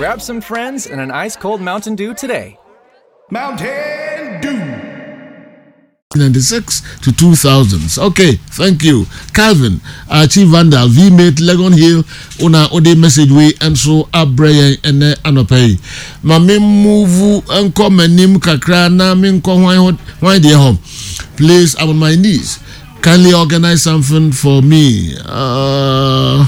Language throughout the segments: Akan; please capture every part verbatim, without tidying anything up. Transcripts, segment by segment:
Grab some friends and an ice cold Mountain Dew today. Mountain Dew. ninety-six to two thousands. Okay, thank you. Calvin, uh, Chief Vandal, V-Mate, Legon Hill, una ode message wei nso abrɛ yɛn ɛnɛ anɔpa yi. Ma me move nkɔ m'anim kakra na me nkɔ hwan hɔ, hwan deɛ hɔ. Please, I'm on my knees. Kindly organize something for me. Uh,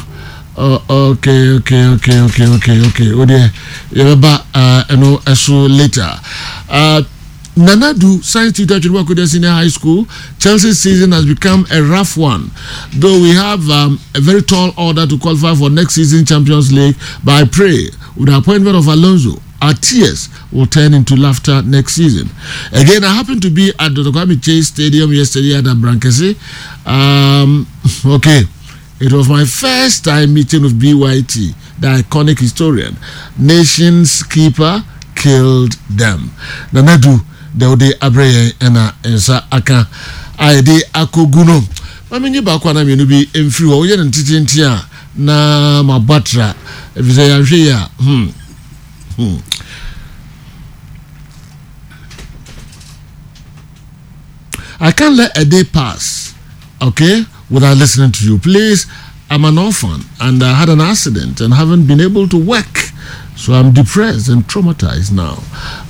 uh, okay, okay, okay, okay, okay, okay. O deɛ, yɛbɛba uh, ɛno ɛso later. Uh, Nanadu Science Tutor, Twene Senior High School. Chelsea season has become a rough one. Though we have um, a very tall order to qualify for next season Champions League, but I pray with the appointment of Alonso, our tears will turn into laughter next season. Again, I happened to be at the Kwame Chase Stadium yesterday at Abrankese. Um, okay. It was my first time meeting with B Y T, the iconic historian. Nation's keeper killed them. Nanadu, deɛ wode abrɛ yɛn ɛna nsa aka a yɛde akɔgu no. Ma menye baako anaa mmienu bi mfiri hɔ. Woyɛ no ntetenten a na mabɔ atra, ɛfiri sɛ yɛahwɛ yi a hmm. Hmm. I can't let a day pass, okay, without listening to you. Please, I'm an orphan and I had an accident and haven't been able to work. So I'm depressed and traumatized now.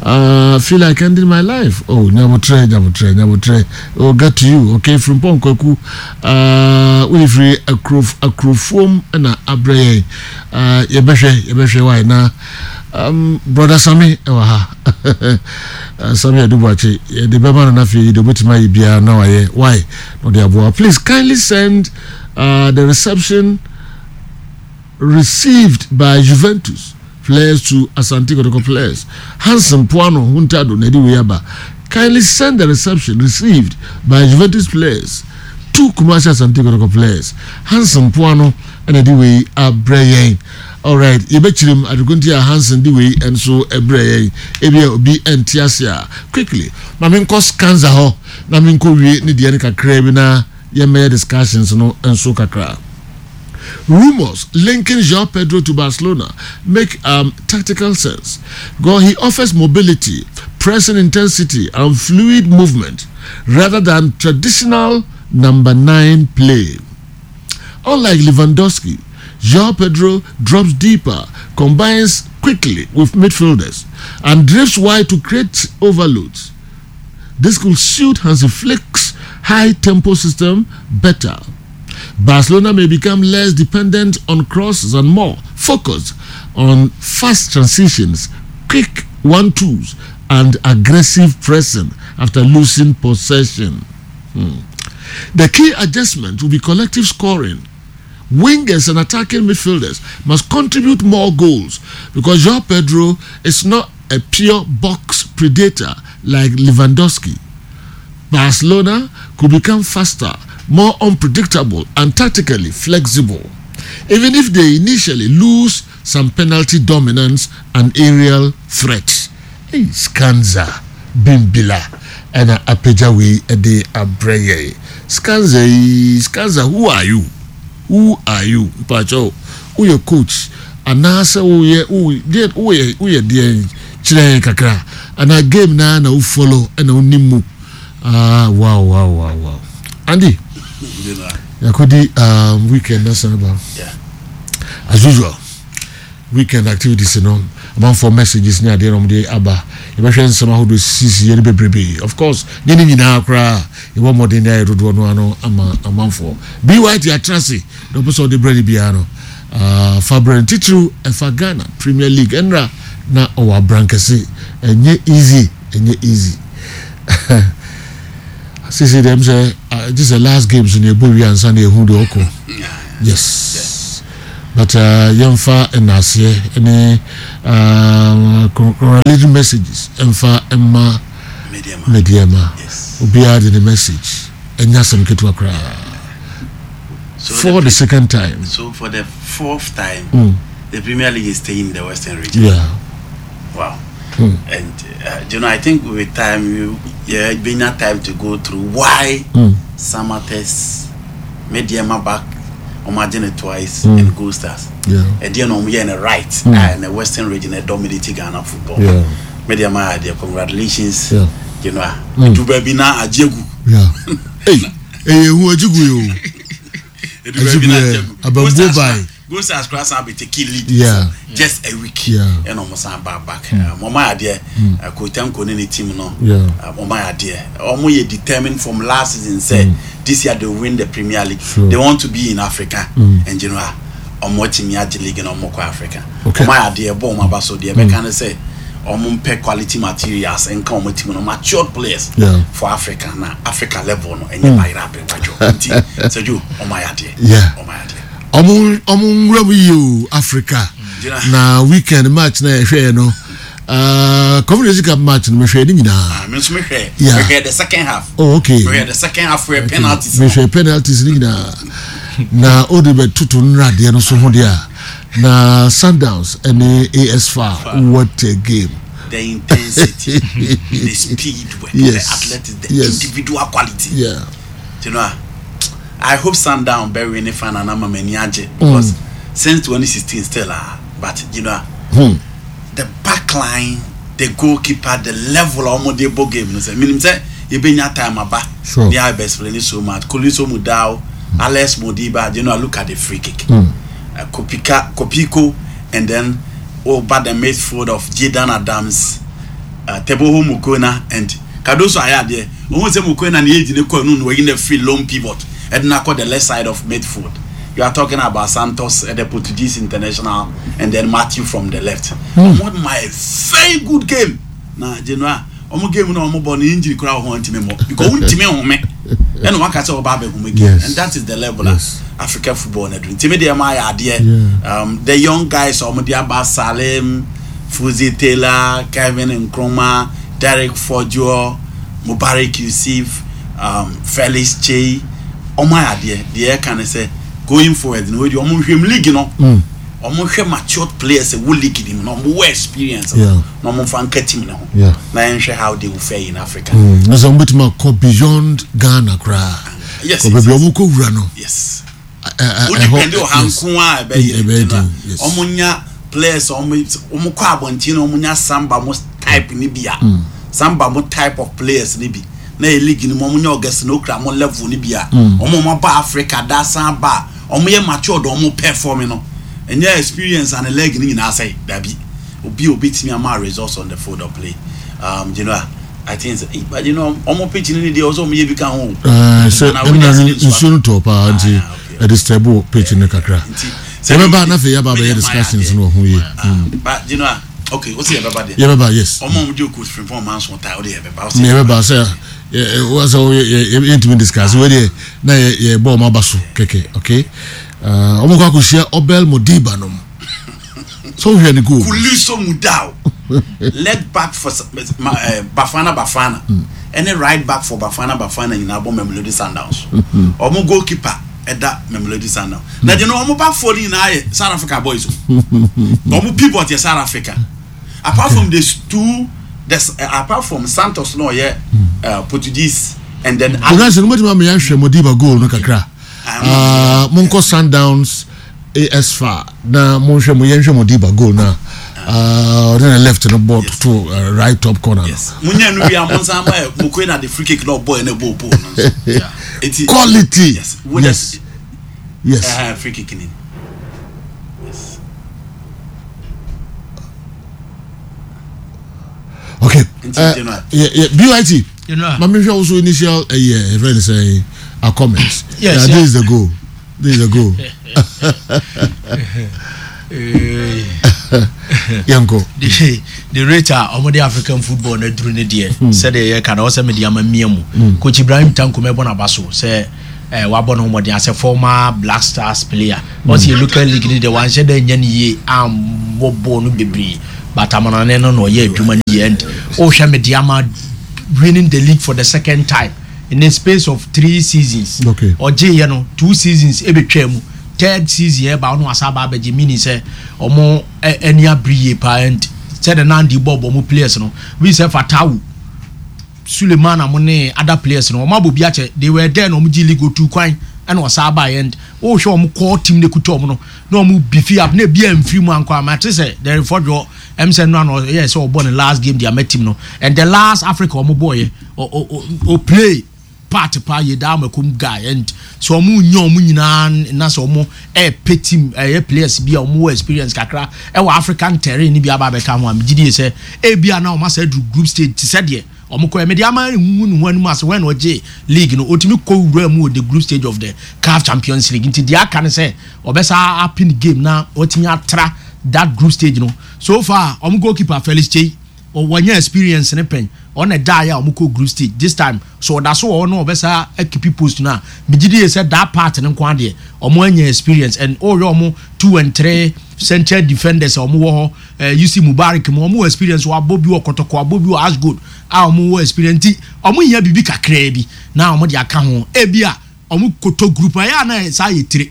Uh, feel like ending my life. Oh, Nyabotre, Nyabotre, Nyabotre. We'll get to you, okay? From Ponkwaku, uh, we free akrof akrofuom na abrɛ uh, yɛbɛhwɛ yɛbɛhwɛ why na um, Brother Sami ɛwɔ ha. uh, Sami Adubuakye, yɛde bɛma no n'afei de obetumi ayɛ biara na wayɛ why na ɔde aboa. Please kindly send uh, the reception received by Juventus players to Asante Kotoko players. Hanson Puano Huntado Nedi Weyaba. Kindly send the reception received by Juventus players to Kumasi Asante Kotoko players. Hanson Puano ɛna wei abrɛ yɛn. Alright, yɛbɛkyerɛ mu adekunti a Hanson de wei nso ɛbrɛ yɛn. Ebi a obi nte ase a quickly. Ma menkɔ Scanza hɔ na menkɔ wie ne deɛ no kakra bi na yɛmmɛyɛ discussions no nso kakra. Rumors linking João Pedro to Barcelona make um, tactical sense because he offers mobility, pressing intensity, and fluid movement rather than traditional number nine play. Unlike Lewandowski, João Pedro drops deeper, combines quickly with midfielders, and drifts wide to create overloads. This could suit Hansi Flick's high tempo system better. Barcelona may become less dependent on crosses and more focused on fast transitions, quick one-twos, and aggressive pressing after losing possession. Hmm. The key adjustment will be collective scoring. Wingers and attacking midfielders must contribute more goals because João Pedro is not a pure box predator like Lewandowski. Barcelona could become faster, more unpredictable, and tactically flexible, even if they initially lose some penalty dominance and aerial threats. Hey, Scanza Bimbila ɛna apagya wei ɛde abrɛ yɛn. Scanza yi, Scanza, who are you? Who are you? Mpakyɛw, woyɛ coach anaasɛ woyɛ woyɛ woyɛ woyɛ deɛ? Kyerɛ yɛn kakra anaa game naa na wo follow ɛna wonim mu. Ah, wow wow wow wow Andy, yɛakɔdi um, weekend na san ba. As usual, weekend activities no, amanfoɔ messages ne adeɛ na wɔde aba. Yɛbɛhwɛ nsɛm ahodoɔ sisi yɛ no bebrebe. Of course, nye ne nyinaa koraa, yɛbɔ mmɔden de ayɛ dodoɔ no ano ama amanfoɔ. B Y T atena ase na ɔpɛ sɛ ɔde brɛ no biara no, uh, fa brɛ no. Titiriw ɛfa Ghana Premier League, ɛnra na ɔwɔ abrankɛse. Ɛnyɛ easy, ɛnyɛ easy. Sisi dɛm sɛ gye sɛ last games no yɛbɔ wie ansa na yɛhu deɛ ɔkɔ. Yes, but uh, yɛmfa nnaseɛ ne uh, congratulatory messages ɛmfa mma Medeama. Obiara de ne message, ɛnyɛ asɛm ketewa koraa. So for the, the second time. So for the fourth time, mm. the Premier League is staying in the Western Region. Yeah. Wow. Mm. And uh, you know, I think with time, you yeah, been enough time to go through why mm. Samartex, Medeama back Ɔmo agye ne twice and Gold Stars. Yeah. Ɛdeɛ na ɔmo yɛ no right mm. And the Western Region ɛ dominate Ghana football. Yeah. Medeama adeɛ, congratulations. Yeah. You know, edu baabi na agye gu. Yeah. Hey, ɛyɛ ehu agye gu yi o. Edu baabi na agye gu. Abambuo Gold Stars bae. kora- Gold Stars kora san bɛ take lead Yeah. for just a week. Yeah. Ɛna ɔmo san ba back. Ɔmo ayɛ adeɛ, Kotanko ne ne team no. Yeah. Ɔmo ayɛ adeɛ, ɔmo yɛ determined from last season sɛ this year they win the Premier League. Sure. They want to be in Africa and you know, ɔmo atumi agye league na ɔmo kɔ Africa. Okay. Ɔmo ayɛ adeɛ, bɔ ɔmo aba so deɛ, ɛbɛka ne sɛ ɔmo mpɛ quality materials nka ɔmo team no, matured players Yeah. for Africa, na Africa level no ɛnyɛ bayerɛ abɛwadwo, nti sɛdwo ɔmo ayɛ adeɛ. Yeah. Ɔmo ayɛ adeɛ. Ɔmo ɔmo nwura mu yie o, Africa. Gyina. Na weekend match na yɛhwɛ yɛ no, uh, Confederation Cup match no, mehwɛ ne nyinaa. Ah, me nso mehwɛ. Yeah. Mehwɛ the second half. Oh, okay. Mehwɛ the second half wɛ penalties no. Mehwɛ penalties ne nyinaa na ode bɛtoto nnuradeɛ no so ho deɛ a, na Sundowns ɛne A S F A, what a game! The intensity, the speed work, Yes. the athletics, the Yes. individual quality. Yeah you know, I hope Sundown bɛ win final na ma m'ani agye because since twenty sixteen still ah, but you know, hmm. the back line, the goalkeeper, the level a wɔn de bɔ game no, sɛ minim sɛ ebenya time aba. Sure. They are best playing so much. Khuliso Mudau, Alex Modiba, you know, look at the free kick. Mm. Uh, Kopika, Kopiko, and then over the midfield of Jayden Adams, uh, Teboho Mokoena, and Cardoso ayɛ adeɛ. Ohun sɛ Mokoena ni age ne kɔ no na wɔyi na free lone pivot. Ɛde na akɔ the left side of midfield. You are talking about Santos, uh, the Portuguese international, and then Matthew from the left. Mm. What my very good game. Na Genoa, ɔmo game na ɔmo bɔ no, injury kora wɔ ho ntumi mmɔ because ntumi home ɛna waka sɛ ɔba abɛhome game. Yes. And that is the level Yes. a Africa football na duru, ntumi deɛ ma ayɛ adeɛ. Yeah. um, the young guys a ɔmo de aba, Salim Fuzi Taylor, Kevin Nkrumah, Derek Fordjour, Mubarak Yusuf, um, Felix Chey, ɔmo ayɛ adeɛ. Deɛ ɛka ne sɛ going forward no, wɔdi ɔmo nhwɛ mu league no, Mm. ɔmo hwɛ matured players ɛwɔ league ni mu na ɔmo wɔ experience Yeah. na ɔmo nfa nka team ne ho Yeah. na yɛnhwɛ how they will fare in Africa. Mm. Na sɛ wɔbɛtumi akɔ beyond Ghana koraa Yes, kɔ yes, baabi a ɔmo kɔ wura no. Yes. ɛ- ɛ- Wo ɛhɔ- depend wɔ ha yes. nko a, ɛbɛyɛ ɛbɛyɛ den. den, yes. Ɔmo nya players a ɔmo ɔmo kɔ abɔnten na ɔmo nya Samba mo type ni bi a, Samba mo type of players ni bi na yɛ league ni mu, ɔmo nya August na okura mo level ni bi a, ɔmo ɔmo aba Africa da san ba a, ɔmo yɛ matured, ɔmo perform no, ɛnyɛ experience and leg ni nyinaa sɛ dabi obi a obetumi ama results on the field of play. um, you know I think sɛ, eh, but you know ɔmo pitch ni deɛ ɔsɛ ɔmo yɛ bi ka ho o. Ɛɛ, sɛ Na ɛna Williams ne nsuo no tɔ paa nti Ah, okay. ɛde stable pitch no kakra. Nti yɛbɛba na afei yɛaba abɛyɛ discussions no wɔ ho yie. Ah, but you know, okay, o si yɛbɛba deɛ. Yɛbɛba, yes. Ɔmo a ɔmo gye coach Frimpong Manso ta o de yɛbɛba o si. Ne yɛbɛba sɛ wɔ sɛ yɛntumi discuss wei deɛ na yɛ- yɛbɔ ɔmo aba so kɛkɛ. Okay, Uh, ɔmo kɔ akɔhyia Abel Modiba nom so wohwɛ ne goal. Khuliso Mudau, left back for ma, uh, Bafana Bafana ɛne right back for Bafana Bafana nyinaa bɔ Mamelodi Sundowns. Ɔmo goalkeeper ɛda Mamelodi Sundowns na deɛ no, ɔmo back four no nyinaa yɛ South Africa boys o. Ɔmo pivot yɛ South Africa, apart from the two, the uh, apart from Santos no ɔyɛ uh, Portuguese and then Ogansi no mɔtumi ama yɛahwɛ Modiba goal no kakra. Ah, Uh, monkɔ Sundowns A S F A na monhwɛ mo, yɛnhwɛ Modiba goal na uh, ɔde na left no bɔ Yes. to uh, right top corner no. Yes, munya nu bi a mo nsa ama yɛ Mokoena de free kick na ɔbɔ yɛ na ɛbɔ pole no nso. Yeah. Eti Quality. Yes. Wo Yes, yes. uh, free kick ni, yes. Okay. Nti uh, General. yeah, yeah, B Y T. You know. Mami hwɛ also initial uh, yeah, friend say our comments. Yes, yeah, yeah. This is the goal, this is the goal. Eh, yɛnkɔ. the the rate a ɔmo de African football na duru ne deɛ, sɛdeɛ yɛka na ɔsɛ mede ama mia mu, Coach Ibrahim Tanko, mɛbɔ n'aba so sɛ eh, wabɔ ne ho mmɔden asɛ former Black Stars player. Ɔsɛ yɛ local league ne deɛ, wanhyɛ dɛ nyɛ ne yie ambɔ bɔɔl no bebree, but amanane no na ɔyɛ adwuma no yie, and wohwɛ mede ama winning the league for the second time in the space of three seasons. Okay. Ɔgye yɛ no two seasons ebetwa mu, third season ɛba ɔno asa aba abɛgye, meaning sɛ ɔmo ɛ ɛni abiri yie paa, and sɛde nandi bɔ bɔ ɔmo players no bi sɛ Fatawu Suleiman, amo ne other players no, ɔmo abɔ bi akyɛ. They were there na ɔmo gye league otu kwan. Ɛna ɔsan aba yɛn wohwɛ ɔmo core team ne kuta ɔmo no na ɔmo beef up na ebi amfiri mu ankɔ ama te sɛ Derek Fodjo ɛm sɛ no ano yɛ sɛ ɔbɔ ne last game de ama team no. And the last Africa ɔmo bɔ yɛ ɔ ɔ ɔ play part pa yɛ daa makom guy. And so ɔmo nya ɔmo nyinaa na sɛ ɔmo ɛɛpɛ team, ɛyɛ players bi a ɔmo wɔ experience kakra ɛwɔ African terrain ni bi aba abɛka ho a, megye di sɛ ebi a na ɔmo asɛ aduru group stage te sɛ deɛ ɔmo kɔ ɛmɛ de ama ehuhu ne ho anim ase wɔn na ɔgye league no, otumi kɔ wura mu wɔ the group stage of the CAF Champions League. Nti deɛ aka ne sɛ ɔbɛsa apin game na ɔtumi atra that group stage no. So far, ɔmo goalkeeper Felix Kyei, wɔnyɛ experience ne pɛn, ɔna da yɛ a ɔmo kɔ group stage this time so ɔda so wɔ hɔ no, ɔbɛsa akeep post no a, megye di yɛ sɛ that part ne nko adeɛ ɔmo anya experience. And ɔyɛ ɔmo two and three central defenders a ɔmo wɔ hɔ, ɛɛ U C Mubarak mu, ɔmo wɔ experience, wɔ abɔ bi wɔ Kɔtɔkɔ, abɔ bi wɔ Ashgold a ɔmo wɔ experience. Nti ɔmo nya bibi kakraa bi na ɔmo de aka ho, ebi a ɔmo koto group a yɛ ana saa yɛ tire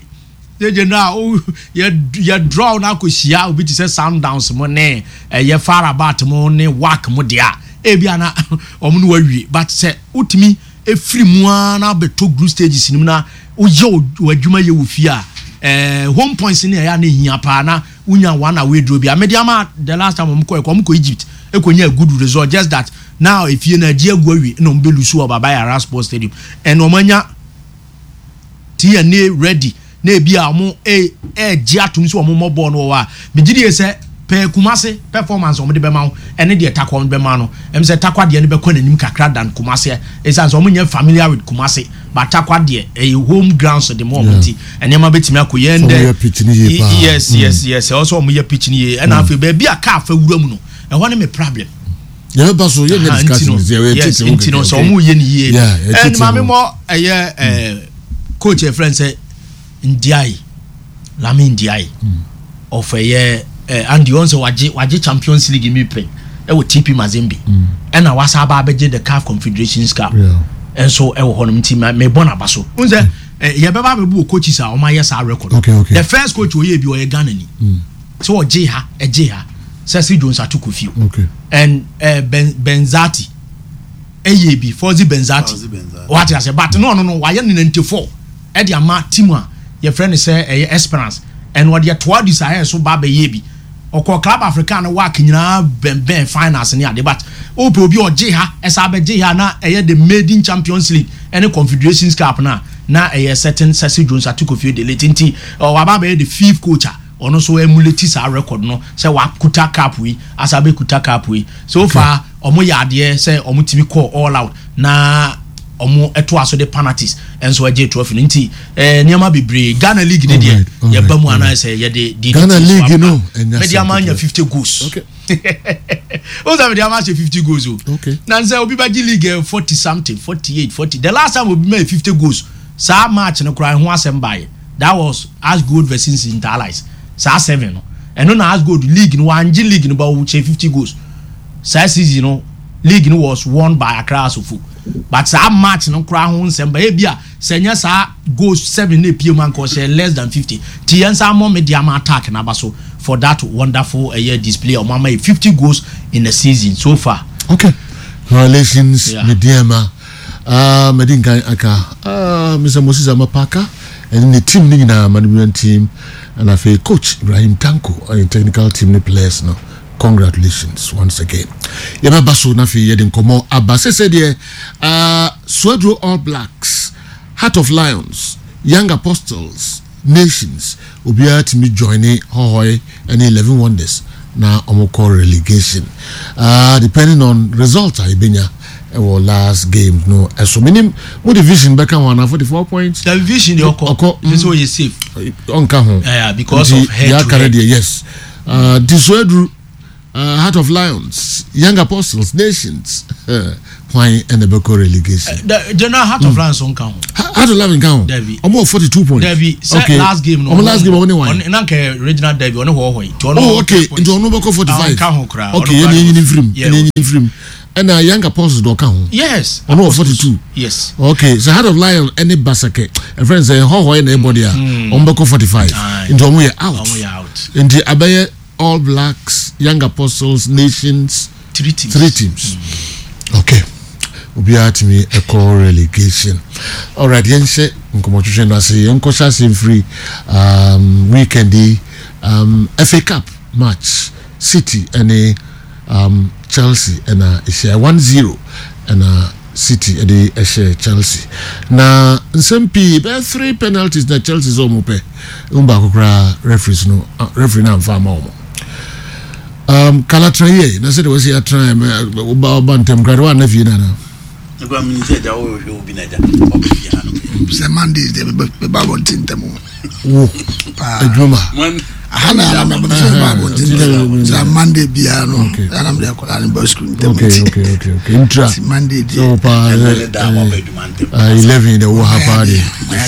yɛ na o yɛ yɛ draw na akɔ hyia obi te sɛ Sundowns mo ne ɛyɛ FAR Rabat mo ne WAC mo deɛ a, ebi ana ɔmo no wawie. But sɛ wotumi efiri mu ara na abɛtɔ group stages nim na woyɛ w'adwuma yɛ wɔ fie a, ɛɛ home points ne ɛyɛ ana ehia paa na wonya one away draw bi a mede ama. The last time ɔmo kɔ ɛkɔ, ɔmo kɔ Egypt ekɔ nya a good result, just that now efie na agye agu awie na ɔmo bɛ lose wɔ Baba Yara Sports Stadium. Ɛna ɔmo anya T N A ready na ebi a ɔmo ɛɛgye atum sɛ ɔmo mmɔ bɔɔl no wɔ hɔ a, megye die sɛ pɛɛ Kumase performance ɔmo de bɛma wo ɛne deɛ Takwa ɔmo de bɛma no, ɛm sɛ Takwa deɛ no bɛkɔ n'anim kakra than Kumase, ɛsiane sɛ ɔmo nyɛ familiar with Kumase, but Takwa deɛ ɛyɛ home grounds de mo ɔmo, nti nneɛma bɛtumi akɔ yɛn dɛ. Ɔmo yɛ pitch ni yie paa. yes yes yes ɛwɔ sɛ ɔmo yɛ pitch ni yie. Ɛna afei baabi a kaa fa wura mu no, ɛhɔ ne me problem. Yɛbɛba so, yɛnyɛ Aha, nti discussion no, sɛ yɛ yes, tete ho nti no kɛkɛ, sɛ okay. ɔmo yɛ ne yie. Yeah, yɛ ɛn tete maame ho. mɔ ɛyɛ ɛɛ coach ɛfrɛ n sɛ Ndiaye, Lamine Ndiaye of ɛyɛ ɛɛ Andy ɔn sɛ wagye wagye Champions League mi pɛn ɛwɔ T P Mazembe, ɛna wasa aba abɛgye the CAF Confederations Cup Yeah. ɛnso ɛwɔ hɔnom. Nti ma mebɔ n'aba so n sɛ ɛ yɛbɛba abɛbu wɔ coaches a wɔn ayɛ saa record. Okay, okay. The first coach oyɛ bi, ɔyɛ Ghana ni sɛ ɔgye ha, ɛgye ha, Cecil Jones Atoko Fio Okay. and uh, Ben Benzati ɛyɛ bi, Fawzi Benzati. Fawzi Benzati. Wate ase? But no no no wayɛ ne ninety four ɛde ama team a yɛfrɛ no sɛ ɛyɛ Esperance, ɛna ɔde ɛtoa di saa ɛyɛ so ba abɛyɛ bi, ɔkɔ Club African no WAC nyinaa bɛnbɛn finals ne ade. But wopɛ obi a ɔgye ha, ɛsɛ abɛgye ha na ɛyɛ the maiden Champions League ɛne Confederations Cup na na ɛyɛ certain Cecil Jones Atokofio de late. Nti ɔwaba abɛyɛ the fifth coach a ɔno nso emulate saa record no sɛ wakuta cup yi asa abɛkuta cup yi. So far ɔmo yɛ adeɛ sɛ ɔmo tumi kɔ all out na ɔmo ɛto aso de penalties ɛnso ɛgye trophy no. Nti ɛɛ nneɛma bebree, Ghana league ne deɛ yɛba mu anaasɛ yɛde di Ghana league no ɛnya mɛde ama anya fifty goals. Okay. O sɛ mɛde ama ahyɛ fifty goals o. Okay. Na nsɛ obi bɛ gye league ɛ forty something, forty eight, forty. The last time obi ma yɛ fifty goals, saa match no koraa ho asɛm baayɛ, that was Ashgold versus Inter Allies, saa seven no. Ɛno na Ashgold league no wangye league no ba o kyɛ fifty goals. Saa season no, league no was won by Accra Asofo, but saa match no koraa ho nsɛm ba. Ebi a sɛ nyɛ saa goals seven na epie mu anka ɔhyɛ less than fifty. Ti yɛn nsa amɔ Medeama attack n'aba so for that wonderful ɛyɛ display. Ɔmo ama yɛ fifty goals in a season so far. Okay, congratulations. Yeah. Medeama, uh, mede nkan aka uh, Mister Moses Amapaka ɛne ne team ne nyinaa, management team, ɛna afei coach Ibrahim Tanko ɛne technical team ne players no, congratulations once again. Yɛbɛba so na afei yɛde nkɔmmɔ aba sɛ sɛ deɛ uh, Swedru All Blacks, Heart of Lions, Young Apostles, Nations, obiara tumi join Hohoe ɛne Eleven Wonders na ɔmo kɔ relegation, uh, depending on result a yɛbɛnya ɛwɔ last game no. Ɛso menim mo division bɛka ho ana forty four points. The division de ɔkɔ. Ɔkɔ. Ɛsɛ sɛ ɔyɛ safe. Ɔnka ho. Yeah, because nti of head deɛ to aka no head. deɛ, yes, uh, Disoaduru, uh, Heart of Lions, Young Apostles, Nations, hwan ɛna ɛbɛkɔ relegation? The general Heart of Lions nka ho. Ha- heart of Lions nka ho? Dabi. Ɔmo wɔ forty two points. Dabi, sɛ Okay. last game no, ɔmo last game, ɔmo ne wan? Ɔne na nka regional derby, ɔne Hɔhɔ yi. Nti ɔno Oh, okay. ten points. Nti ɔno bɛkɔ forty five. Ɔnka ho koraa. Okay. Ɔno Yɛn koraa yɛn nyini nfirim. Yeah. Yɛn nyini nfirim. Ɛna Young Apostles dɔ ɔka ho? Yes. Ɔno wɔ forty two. Yes. Okay, so Heart of Lion ɛne Basake ɛfrɛ n sɛ Hɔhɔ yɛ na ɛbɔ deɛ a, ɔmo bɛkɔ forty five. Aye. Nti ɔmo yɛ out. Ɔmo yɛ out. Nti abɛyɛ All Blacks, Young Apostles, Nations. Three teams. Three teams. Okay, obiara tumi ɛkɔ relegation. Alright, yɛnhyɛ Nkɔmɔtwitwe no ase, yɛnkɔhyɛ ase mfiri um, weekend yi um, F A Cup match, City ɛne um, Chelsea ɛna ɛhyia one zero, ɛna City ɛde ɛhyɛ Chelsea. Na nsɛm pii, bɛyɛ three penalties na Chelsea sɛ ɔmo pɛ ɛmu baako koraa, referees no, ah, referee no amfa ama ɔmo. um, kala tena yie na sɛdeɛ wɔsi atena ɛ ɔba ɔba ntɛm koraa de wɔn ana fie nana. Nígbà mi ní sɛ ɛgya wɔhwɛ obi na ɛgya ɔbɛ fie ha no. Sɛ Mondays deɛ, meba abɔnten ntɛm o. Wo paa. Adwuma. Aha na ara mɛbɛ sɛ meba abɔnten ntɛm sɛ Monday biara no, ɛna mede akwadaa no ba school ntɛm. okay okay okay okay ntura nti Monday deɛ so paa. Ɛnɛ ne da wɔbɛ adwuma ntɛm. ɛ eleven de wɔ ha paa de.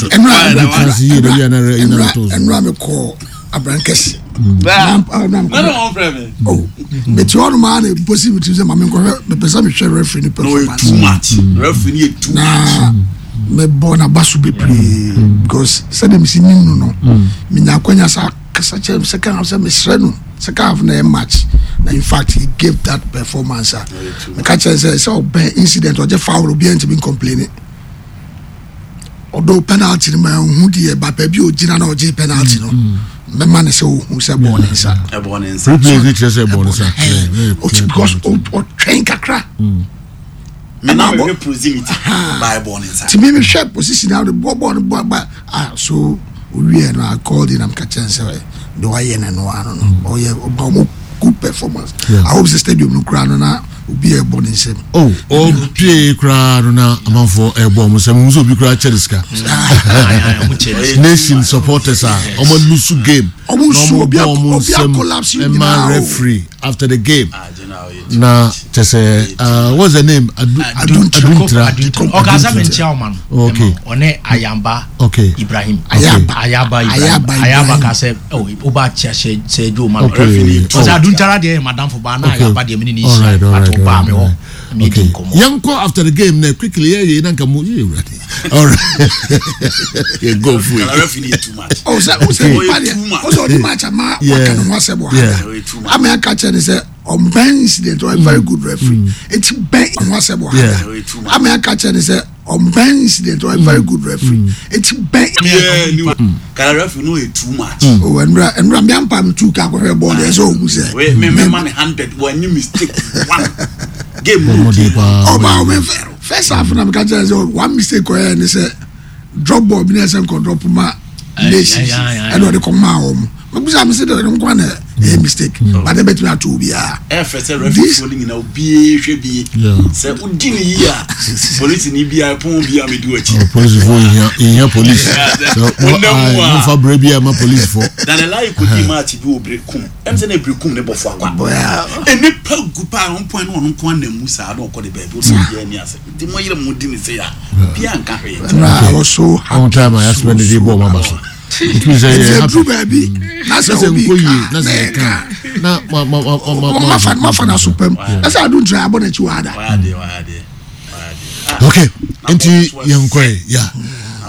Ɛnura tena ase yie de bi a na yɛ na to so. Ɛnura mekɔ Abrankɛse. Nana wɔn fɛ mi. Oh, mete hɔ nom a na mposi me tirim sɛ ma menkɔhwɛ, mepɛ sɛ mehwɛ referee no Na ɔyɛ performance. too much, referee ni yɛ too much. Na mebɔ n'aba so bebree because sɛdeɛ mesi nim no no menya akwanya sa kasa kyerɛ me second half sɛ mesrɛ no, second half na ɛyɛ match na in fact he gave that performance a meka kyerɛ sɛ sɛ ɔbɛn incident, ɔgye foul, obiara ntumi ncomplain. Ɔdɔ penalty no ma ɛhu deɛ ba baabi a ogyina na ɔgye penalty no, mɛma ne sɛ ohu sɛ bɔɔ ne nsa. Ɛbɔ ne nsa. Replay ni kyerɛ sɛ bɔɔ ne nsa. Ɛhɛn. Ɔti- because ɔ- ɔtwɛn kakra. Mi na Ɛna mi abɔ- hwɛ proximity ba ɛbɔ ne nsa. Nti mi mehwɛ position a ɔde bɔ bɔɔl no bɔ ba ah, so owie no, I called him, ka kyerɛ sɛ de wayɛ no no ano no, ɔyɛ ɔba ɔmo good performance. Yeah. I hope sɛ stadium no koraa no na obi a ɛbɔ ne nsam. Oh, ɔpie koraa no na amanfoɔ ɛbɔ ɔmo sɛ mo nso obi koraa kyɛ ne sika. Ɔyɛ Nation supporters a ɔmo lose game Ɔmo na nsu, ɔmo obi bɔ a- ɔmo obi a nsam collapse ɛma nyinaa o. referee after the game Ah, general, ɔyɛ too na much. kyɛ sɛ uh, what's the name, Adu Aduntra. Aduntra. Ɔkasa mi nkyɛn ɔma no. Okay. Ɔne Ayamba Okay. Ibrahim. Ayaba. Ayaba Ibrahim. Ayaba Ayaba Ibrahim. ka sɛ ɔ ɔba kyɛ sɛ sɛ ɛdwo ma no. Okay. Ɔsɛ Aduntara deɛ yɛ madamfo ba na Okay. Ayaba deɛ mi ni ne All right, all nhyia right, but ɔbaa all mi hɔ right. mi di Okay. nkɔmɔ. Yɛnkɔ after the game na quickly yɛ yɛ nanka mo yɛ ewurade. All right. Yɛ go free. Kala referee ni yɛ too much. ɔ sɛ o sɛ Ɔyɛ nipa deɛ too much. o sɛ ɔdi match ama Yeah. waka ne ho asɛm wɔ Yeah. ha Ɔyɛ too much. ama aka kyerɛ ne sɛ ɔmbɛn incident, ɔyɛ very good referee, eti bɛn ho asɛm wɔ Yeah. ha Ɔyɛ too much. ama aka kyerɛ ne sɛ ɔmbɛn incident, ɔyɛ very good referee, eti bɛn. Yeah, ni kala referee no yɛ too much. O nwura nwura mi ampa mi tu ka akɔhwɛ bɔɔl deɛ sɛ ohun sɛ. Wait, me me man hundred wɔn mistake one game no. Ɔmo de paa. Ɔba ɔmɛ fɛ first half na mi ka kyerɛ sɛ one mistake ɔyɛ ne sɛ drop ball bi na ɛsɛ nkɔ drop ma Nations, ɛna ɔde kɔ maa wɔn. Mɛ bisa mi sɛ de nkwa na ɛyɛ mistake, but ɛbɛtumi ato obiara. Ɛfɛ sɛ referee fo no nyinaa obiara hwɛ bie Yeah. sɛ wodi ne yie a, polisi ni bia pɔn bia mi di w'akyi. Oh, polisifoɔ yɛhia yɛhia police. Sɛ Wonam mu a. momfa berɛ bi a ma polisifoɔ. Daniel kodi match bi wɔ Berekum, ɛm sɛ na Berekum ne bɔfo akwa Bɔya. enipa gu paa wɔn pɔn ne ɔno nko anam mu saa na ɔkɔ de baabi ɔsɛ obiara ni ase nti mo yere mo di ne se ya bia nka hwee. Na I was so happy. Ɔn time a yɛasopɛ ne de bɔ ɔma ba so. Ɛtumi sɛ Nti yɛ eduru happy. baabi na Na sɛ sɛ obi nkɔ yie ka na sɛ yɛka na ma ma ma ma ma mafa mafa na so pɛm ɛsɛ Aduntra abɔ n'akyi wɔ ada. Wayɛ adeɛ, wayɛ adeɛ, wayɛ adeɛ. Okay, nti yɛnkɔe ya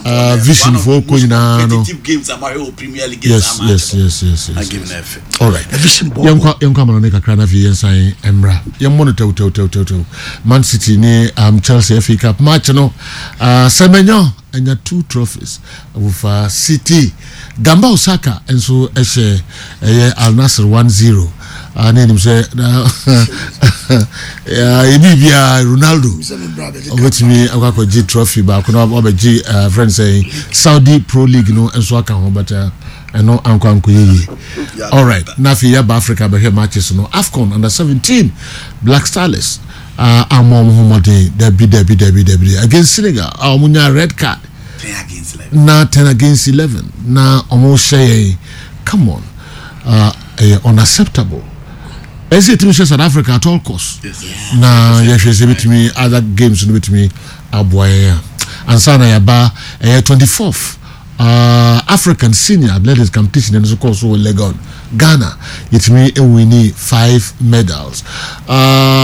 uh, vision foɔ kɔ nyinaa no. Competitive games a mahwɛ wɔ Premier League. Yes yes yes yes na yes. game na ɛfɛ. All right. Vision bɔ. Yɛnkɔ yɛnkɔ amano ne kakra na afei yɛnsan mmra yɛmmɔ no tɛwtɛwtɛwtɛw. Man City ne um, Chelsea F A Cup match no, uh, Semenyo anya two trophies wofa City. Gamba Osaka nso ɛhyɛ ɛyɛ Al Nassr one zero. uh, ne anim sɛ na ebi bia Ronaldo ɔbɛtumi akɔ akɔgye trophy baako na wabɛgye uh, friend sɛ Saudi Pro League no nso aka ho, but uh, ɛno ankɔ ankɔ yie. Alright, na afei yɛba Africa bɛhwɛ matches no. AFCON under seventeen, Black Stars uh, ama ɔmo ho mmɔden dabi dabi dabi dabi against Senegal a ɔmo nya red card. Ten against eleven. Na ten against eleven na ɔmo hyɛ yɛn. Come on, uh, ɛyɛ unacceptable. Ɛsɛ yɛtumi hyɛ South Africa at all cost. Yes, yes. Na yɛhwɛ sɛ bɛtumi other games no bɛtumi aboa yɛn a ansa na yɛaba ɛyɛ twenty-fourth uh, African Senior Athletics Competition, ɛno nso kɔɔ so wɔ Legon, Ghana. Yɛtumi ɛwin five medals uh,